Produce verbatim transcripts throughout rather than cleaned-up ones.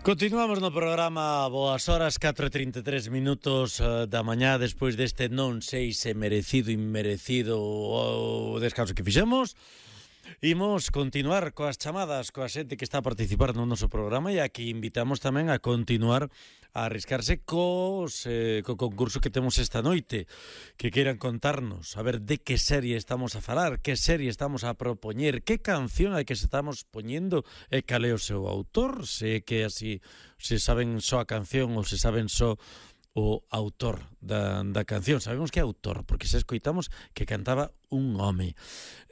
Continuamos no programa Boas Horas, catro e trinta e tres minutos uh, da mañá, despois deste non sei se merecido, inmerecido o descanso que fixemos. Imos continuar coas chamadas, coa xente que está a participar no noso programa, e aquí invitamos tamén a continuar a arriscarse cos, eh, co concurso que temos esta noite, que queiran contarnos, a ver de que serie estamos a falar, que serie estamos a propoñer, que canción é que se estamos poñendo e cal é o seu autor, se que así se saben só a canción ou se saben só o autor da, da canción. Sabemos que é autor, porque se escoitamos que cantaba un home.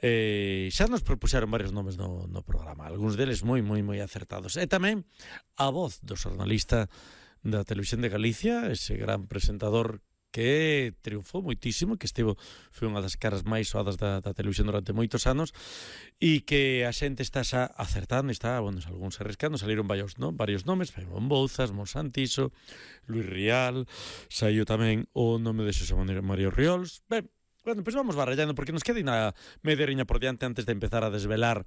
Eh, xa nos propuxeron varios nomes no, no programa, algúns deles moi, moi, moi acertados. E tamén a voz do xornalista da Televisión de Galicia, ese gran presentador que triunfou moitísimo, que estivo, foi unha das caras máis soadas da, da televisión durante moitos anos, e que a xente está xa acertando, está, bueno, algúns arriscando, saliron varios, no? varios nomes, Faimón Bouzas, Monsantiso, Luis Rial, saiu tamén o nome de Xosé María Riols. Ben, bueno, pois pues vamos barallando, porque nos queda unha media riña por diante antes de empezar a desvelar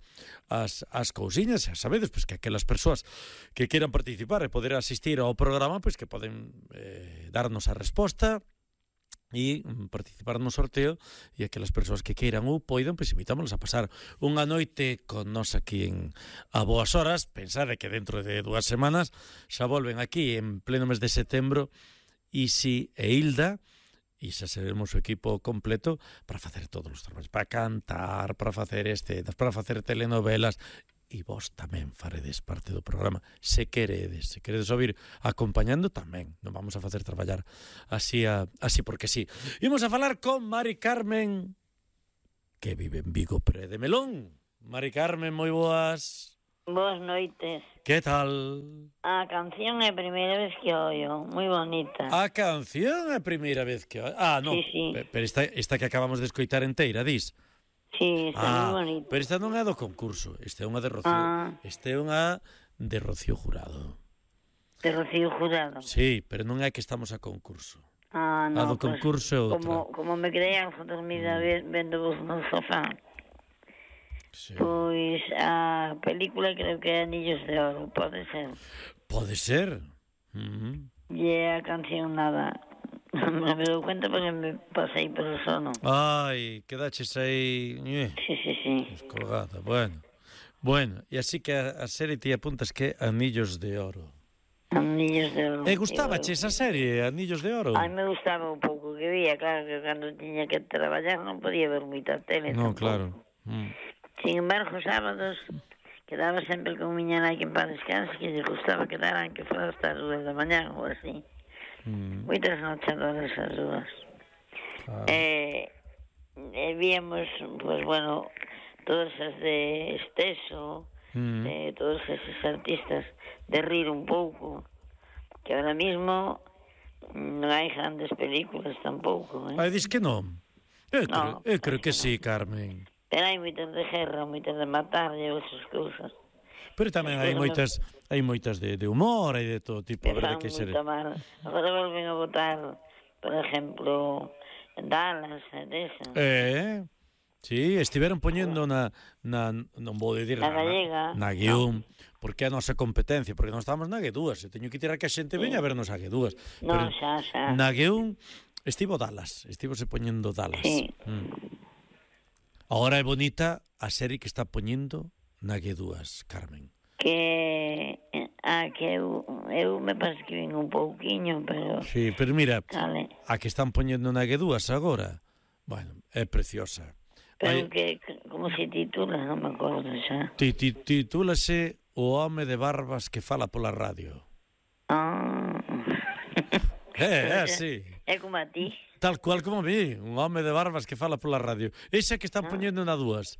as, as cousiñas. Xa sabedes, pois, que aquelas persoas que queiran participar e poder asistir ao programa, pois que poden eh, darnos a resposta e participar no sorteo, e aquelas persoas que queiran ou poidan, pois invitámonos a pasar unha noite con nós aquí en A Boas Horas. Pensade que dentro de dúas semanas xa volven aquí en pleno mes de setembro Isi e Hilda, e xa seremos o equipo completo para facer todos os traballos, para cantar, para facer escenas, para facer telenovelas, e vos tamén faredes parte do programa, se queredes, se queredes ouvir acompañando tamén, non vamos a facer traballar así, a, así porque sí. Imos a falar con Mari Carmen, que vive en Vigo, pero é de Melón. Mari Carmen, moi boas. Boas noites. Que tal? A canción é a primeira vez que oio, moi bonita. A canción é a primeira vez que oio. Ah, non, sí, sí. Pero esta, esta que acabamos de escoitar enteira, dis? Sí, está ah, moi bonita. Pero esta non é do concurso, esta é unha de Rocío. Ah. Esta é unha de Rocío Jurado. De Rocío Jurado? Sí, pero non é que estamos a concurso. Ah, non, a do concurso é outra. Como, como me quedei algo dormida mm. vendo vos no sofá. Sí. Pois a película creo que é Anillos de Oro, pode ser. Pode ser. Uh-huh. E a canción nada. Me dou cuenta porque me pasei polo sono. Ai, quedaches aí... Eh, sí, sí, sí. Descolgada, bueno. Bueno, e así que a, a serie ti apuntas que Anillos de Oro. Anillos de Oro. E gustabache esa serie, Anillos de Oro? Ai, me gustaba un pouco que vía, claro, que cando tiña que traballar non podía ver moita tele. Non, tampouco. claro. Mm. Sin embargo, sábados quedaba sempre con miña nai que en paz descanse, que lle gustaba quedar que fora hasta as dúas da mañá ou así. Mm. Moitas nochadoras as dúas. Ah. Eh, eh, víamos, pues bueno, todas as de Esteso, mm. de todos esos artistas, de rir un pouco, que ahora mismo non hai grandes películas tampouco. Eh? Ai, dis que non? Eu creo, no, eu creo que, que sí, Carmen. Pero hai moitas de guerra, moitas de matar e outras cousas. Pero tamén hai moitas, hai moitas de, de humor e de todo tipo. Que fan moito mal. Agora volven a votar, por exemplo, Dallas, desa. Eh, sí, estiveron poñendo na, na non vou dicir na gallega, na, na guión, no. Porque é a nosa competencia, porque non estamos na G dúas, e teño que tirar que a xente veña sí. a vernos a G dúas. Non, xa, xa. Na guión estivo Dallas, estivo se poñendo Dallas. Sí. Mm. Ahora é bonita a serie que está poñendo na G dúas, Carmen. Que a que eu, eu me parece que vin un pouquiño, pero... Sí, pero mira, vale. A que están poñendo na G dúas agora, bueno, é preciosa. Pero Vai... que, como se titula, non me acordo xa. Titúlase O home de barbas que fala pola radio. Ah... É, é así. É como a ti. Tal cual como a mí, un home de barbas que fala pola radio. Esa que están ah. poñendo na dúas.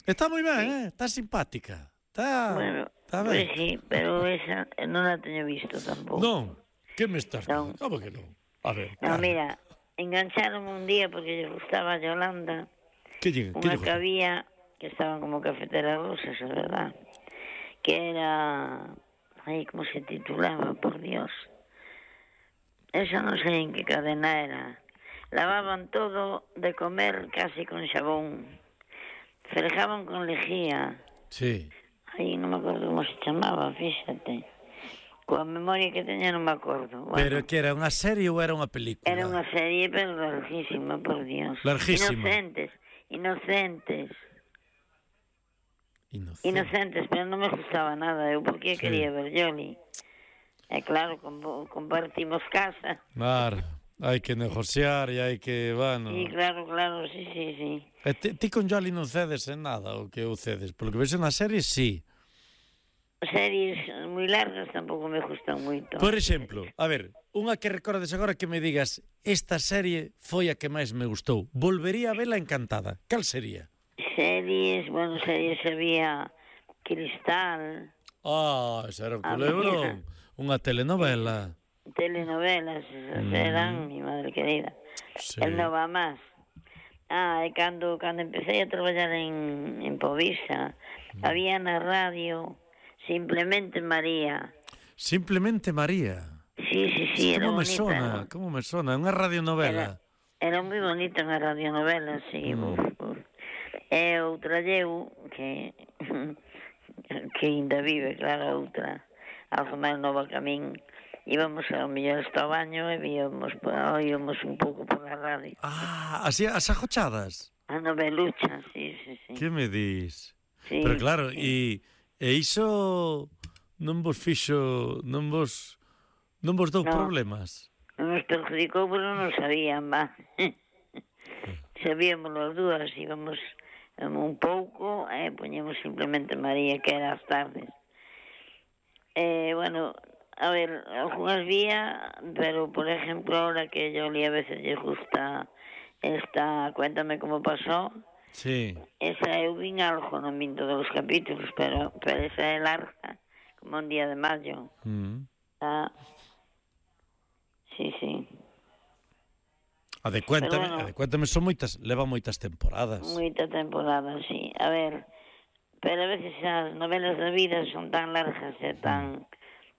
Está moi ben, sí. eh? Está simpática. Está, bueno, está ben. Pues sí, pero esa non la teño visto tampouco. Non, que me estás non. Como que non? A ver, no, mira, engancharon un día porque lle gustaba a Yolanda. Que lle, unha que había, que estaban como cafeteras rusas, é verdad, que era... Ay, como se titulaba, por Dios... Esa non sei en que cadena era. Lavaban todo de comer casi con xabón. Frejaban con lejía. Sí. Aí non me acordo como se chamaba, fíxate. Coa memoria que teña non me acordo. Bueno, Pero que era unha serie ou era unha película? era unha serie, pero larguísima, por Dios. Larguísima. Inocentes, inocentes, Inocente. inocentes, pero non me gustaba nada. Eu porque Sí. quería ver Yoli. E claro, com- compartimos casa. Claro, hai que negociar e hai que, bueno... Sí, claro, claro, sí, sí, sí. E ti, ti con Jolly non cedes en nada o que eu cedes? Polo que vexo na serie, sí. Series moi largas tampouco me gustan moito. Por exemplo, a ver, unha que recordes agora que me digas esta serie foi a que máis me gustou. Volvería a vela encantada. Cal sería? Series, bueno, series había Cristal, Ah, esa era un A culebrón. Unha telenovela. telenovelas, esas Mm. eran, mi madre querida. Sí. El no va más. Ah, e cando, cando empecé a traballar en, en Povisa, Mm. había na radio Simplemente María. Simplemente María. Sí, sí, sí, era Como me bonita. sona, como me sona, unha radionovela. Era moi bonita unha radionovela, sí. Mm. Uf, uf. E outra lleu, que que ainda vive, claro, outra, algo máis nova que a min. Íbamos ao mellor hasta o baño e víamos, oíamos un pouco por a radio. Ah, así, as ajochadas. A novelucha, sí, sí, sí. Que me dis? Sí, Pero claro, sí. e, e iso non vos fixo, non vos non vos dou No. problemas. Non nos perjudicou, pero non sabían, va. Sabíamos as dúas, íbamos um, un pouco e poñemos Simplemente María, que era as tardes. Eh, bueno, a ver, algunhas vía, pero por ejemplo, ahora que yo a veces lle gusta esta Cuéntame cómo pasó, Sí. esa eu vin algo, non vin todos os capítulos, pero, pero esa é larga, como un día de mayo. Mm. Ah, sí, sí. A de Cuéntame, Pero bueno. a de Cuéntame son moitas, leva moitas temporadas. Moita temporada, sí. A ver, pero a veces as novelas da vida son tan largas e tan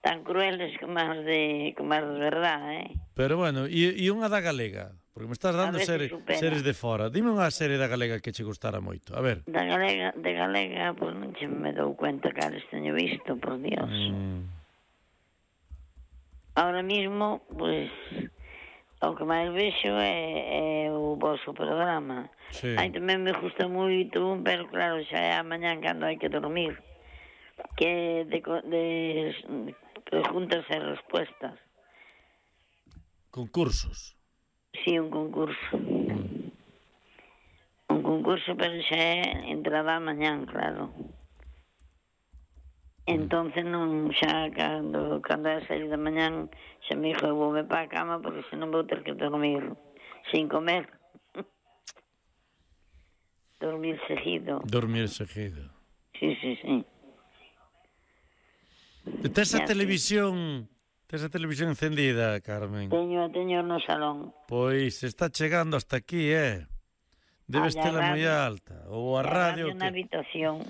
tan crueles como as de como as de verdade, eh? Pero bueno, e, e unha da galega, porque me estás dando A veces series, supera. series de fora. Dime unha serie da galega que che gustara moito. A ver. Da galega, de galega, pois non che me dou cuenta cales teño visto, por Dios. Mm. Ahora mismo, pois, o que máis vexo é, é o vosso programa. Sí. Aí tamén me gusta moito, pero claro, xa é a mañán cando hai que dormir. Que de, co- de preguntas e respuestas. Concursos. Sí, un concurso. Mm. Un concurso, pero xa é entrada a mañán, claro. Entonces non, xa cando, cando é a sair da mañán, xa me dixo, eu voume para a cama porque senón vou ter que dormir sin comer. Dormir seguido. Dormir seguido. Sí, sí, sí. E tes a Ya, televisión, tes a televisión encendida, Carmen. Teño, teño no salón. Pois está chegando hasta aquí, eh? Debes Ah, e a tela moi radio. alta. Ou a E radio na que... habitación.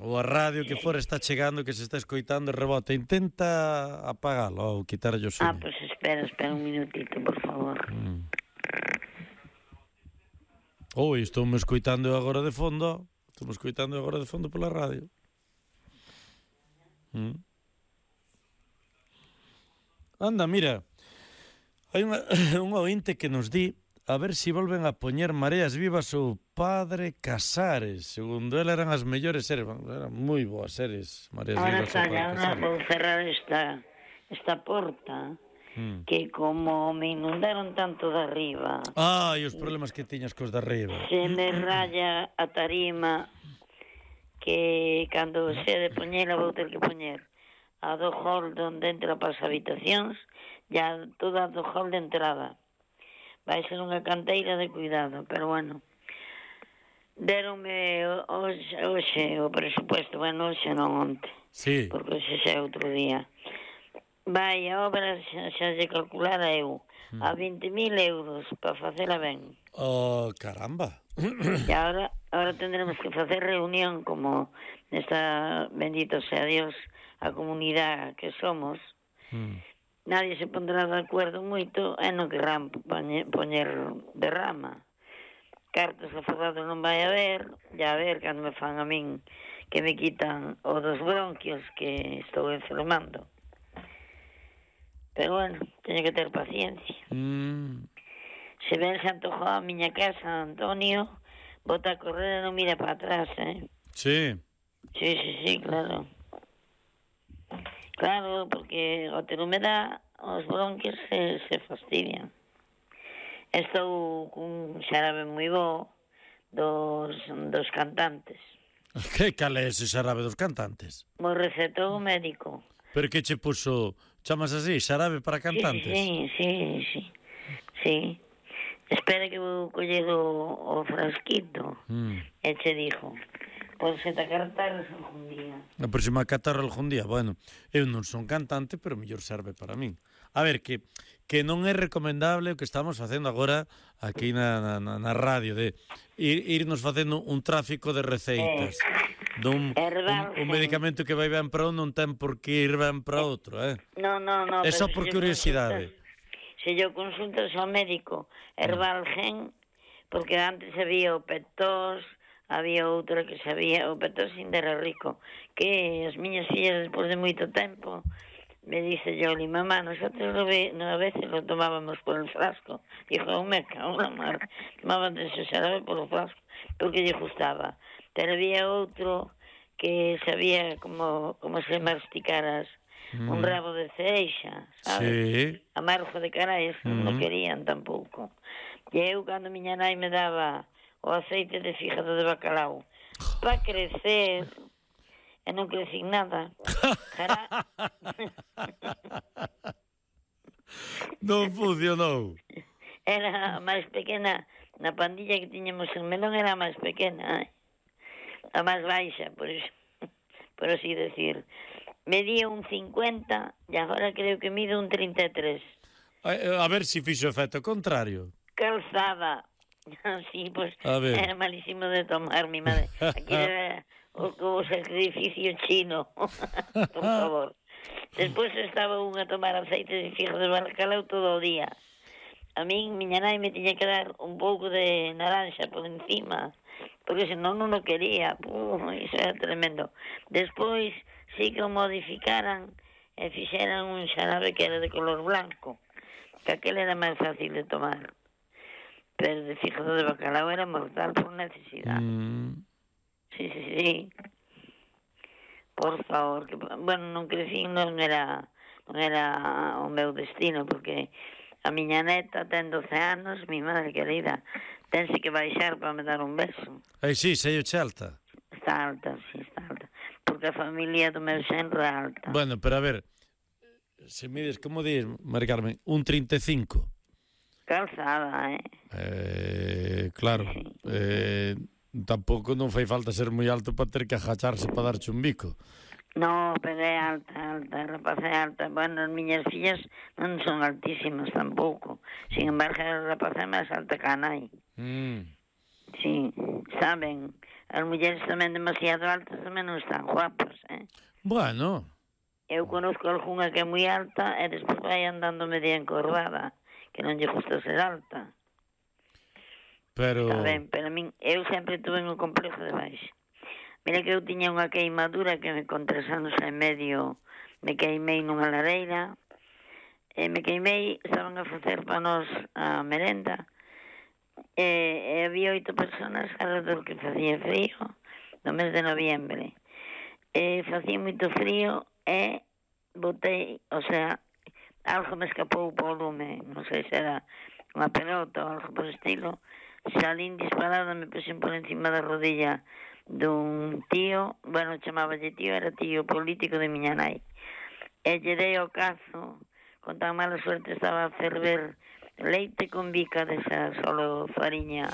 ou a radio que fora está chegando, que se está escoitando e rebota. Intenta apagalo ou quitarlle o Ah, sueño. pues espera, espera un minutito, por favor. Mm. Oi, estou me escoitando eu agora de fondo. Estou me escoitando eu agora de fondo pola radio. Mm. Anda, mira. Hai unha, un ointe que nos di a ver se si volven a poñer Mareas Vivas ou Padre Casares. Segundo él eran as mellores series. Eran moi boas series, Mareas Ahora Vivas ou está, Padre ahora Casares. vou cerrar esta, esta porta, Mm. que como me inundaron tanto de arriba, Ah, e os problemas que tiñas cos de arriba. se me raya a tarima, que cando se de poñela vou ter que poñer a do hall onde entra para as habitacións, ya toda a do hall de entrada. Vai ser unha canteira de cuidado, pero bueno. Deronme hoxe, hoxe o presupuesto, bueno, hoxe non onte, Sí. porque hoxe xa é outro día. Vai, a obra xa, xa se calculara eu a vinte mil euros para facela ben. Oh, caramba. E agora, agora tendremos que facer reunión como nesta, bendito sea Dios, a comunidade que somos. Mm. Nadie se pondrá de acordo moito e non querrán poñer, poñer derrama. Cartas afogados non vai haber, ya a ver cando me fan a min que me quitan o dos bronquios que estou enfermando. Pero bueno, teño que ter paciencia. Mm. Se ven se antojou a miña casa, Antonio, bota a correr e non mira para atrás, eh? Sí. Sí, sí, sí, claro. Claro, porque ao ter humedad, os bronquios se, se fastidian. Estou cun xarabe moi bo dos, dos cantantes. Que cal é ese xarabe dos cantantes? Mo recetou o médico. Pero que che puso, chamas así, xarabe para cantantes? Sí, sí, sí, sí. Sí. Espera que vou coller o, o frasquito. Mm. E che dixo, pois se te acartares algún día. A próxima catarra algún día. Bueno, eu non son cantante, pero mellor serve para min. A ver, que que non é recomendable o que estamos facendo agora aquí na, na, na radio, de ir, irnos facendo un tráfico de receitas. Eh, Dun, Herbal, un, un sí. medicamento que vai ben para un non ten por que ir ben para outro, eh? No, no, no. É só pero por se yo curiosidade. consultas- Se yo consultas ao médico Herbalgen, porque antes había o Petós, había outro que sabía, o Petós ainda era rico, que as miñas fillas, despois de moito tempo, me dice Yoli, mamá, nosotros lo ve, no, a veces lo tomábamos por el frasco. Dijo, oh, me cago en la mar, tomaban de ese xarabe por o frasco, porque lle gustaba. Pero había outro que sabía como, como se masticaras mm. un rabo de ceixa, sabes? Sí. Amargo de carais, mm. non lo querían tampouco. E eu, cando miña nai me daba o aceite de fígado de bacalao para crecer, e non crecín nada. Cara... Non funcionou. Era a máis pequena, na pandilla que tiñamos en Melón era a máis pequena, eh? A máis baixa, por iso, por así decir. Medía un cincuenta e agora creo que mide un trinta e tres. A, a ver se si fixo efecto contrario. Calzada. Sí, pois pues, era malísimo de tomar, mi madre. Aquí era o, o sacrificio chino, por favor. Despois estaba un a tomar aceite de fígado de bacalao todo o día. A min, miña nai me tiña que dar un pouco de naranja por encima, porque senón non o quería. Puh, iso era tremendo. Despois sí que o modificaran e fixeran un xarabe que era de color blanco, que aquel era máis fácil de tomar. Pero de fígado de bacalao era mortal por necesidade. Mm. Sí, sí, sí. Por favor, que, bueno, non crecí, non era, non era o meu destino, porque a miña neta ten doce anos, mi madre querida, tense que baixar para me dar un beso. Ai, sí, sei o che alta. Está alta, sí, está alta. Porque a familia do meu xenro é alta. Bueno, pero a ver, se mides, como dis, Mari Carmen, un trinta e cinco. Calzada, eh? Eh, claro, eh, tampouco non fai falta ser moi alto para ter que agacharse para darche un bico. No, pero é alta, alta, a rapaz é alta. Bueno, as miñas fillas non son altísimas tampouco. Sin embargo, a rapaz é máis alta que a nai. Mm. Sí, saben, as mulleres tamén demasiado altas tamén non están guapas, eh? Bueno. Eu conozco algunha que é moi alta e despois vai andando media encordada, que non lle gusta ser alta. Pero... Saben, pero a min, eu sempre tuve un complexo de baixo. Mira que eu tiña unha queimadura que me con tres anos e medio me queimei nunha lareira, e me queimei, estaban a facer para nós a merenda, e, e había oito personas alrededor que facía frío, no mes de noviembre. E facía moito frío e botei, o sea, algo me escapou polo lume, non sei se era unha pelota ou algo por estilo, salín disparada, me puxen por encima da rodilla dun tío, bueno, chamáballe tío, era tío político de miña nai, e lle dei o cazo, con tan mala suerte estaba a ferver leite con bica desa solo fariña,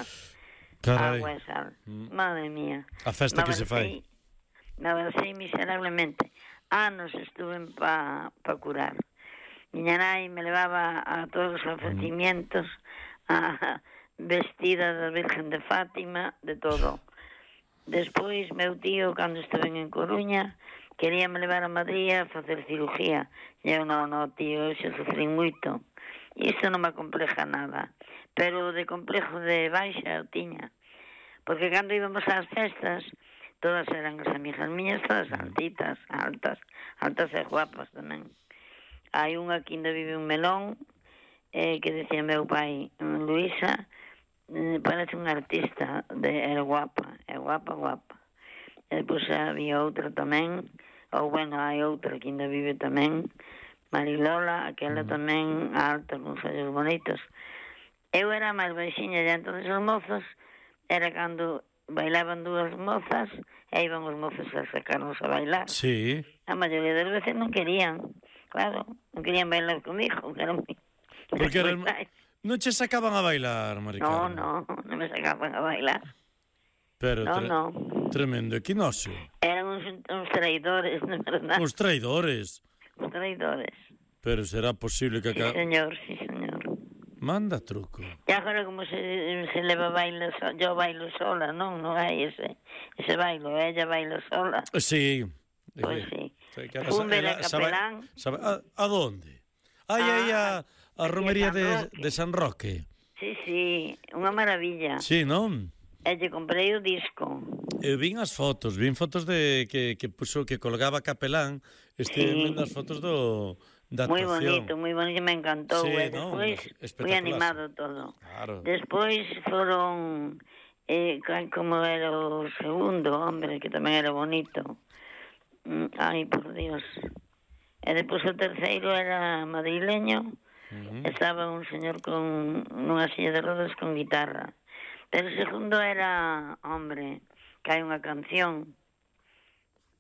carai, agua e sal. Mm. Madre mía. A festa que se fai. Me abracei miserablemente. Anos estuve pa, pa curar. Miña nai me levaba a todos os ofrecimientos, a vestida da Virgen de Fátima, de todo. Despois, meu tío, cando estuve en Coruña, quería me levar a Madrid a facer cirugía. E eu, non, non, tío, eu xa sufrí moito. E isto non me compleja nada. Pero de complejo de baixa eu tiña. Porque cando íbamos ás festas, todas eran as amigas miñas, todas altitas, altas, altas e guapas tamén. hai unha que ainda vive un melón, eh, que decía meu pai, Luisa, eh, parece unha artista, de, era guapa, é guapa, guapa. E depois había outra tamén, ou bueno, hai outra que ainda vive tamén, Marilola, aquela mm. tamén alta, con ollos bonitos. Eu era máis baixinha, e entonces os mozos, era cando bailaban dúas mozas, e iban os mozos a sacarnos a bailar. Sí. A maioría das veces non querían, claro, non querían bailar comigo, que era moi... Porque era... non che sacaban a bailar, Maricarmen? No, no, non me sacaban a bailar. Pero no, tre... no. Tremendo equinoccio. Eran uns, uns traidores, non é verdade? Uns traidores? Uns traidores. Pero será posible que... Sí, señor, sí, señor. Manda truco. E agora como se, se leva baile, so, yo bailo sola, non? Non hai ese, ese bailo, ella baila sola. Sí. Pois sí. Fumbe de capelán. Sabe, a, a donde? Ai, ah, aí a, a romería de, de San Roque. Sí, sí, unha maravilla. Sí, non? E lle comprei o disco. Eu vin as fotos, vin fotos de que, que puso, que colgaba capelán, estive sí. vendo as fotos do... Moi bonito, moi bonito, me encantou. Sí, e no, despois foi animado todo. Claro. Despois foron, eh, como era o segundo hombre, que tamén era bonito. Ai, por Dios. E despois o terceiro era madrileño, uh-huh. Estaba un señor con nunha silla de rodas con guitarra. Pero o segundo era hombre, que hai unha canción.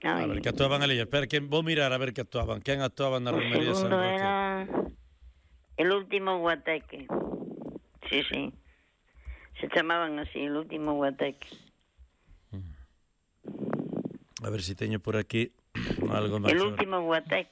Ay. A ver, que actuaban ali. Espera, que vou mirar a ver que actuaban. Quen actuaban na romería de San Roque? O segundo era El Último Guateque. Sí, sí. Se chamaban así, El Último Guateque. A ver se si teño por aquí algo máis. El Último Guateque.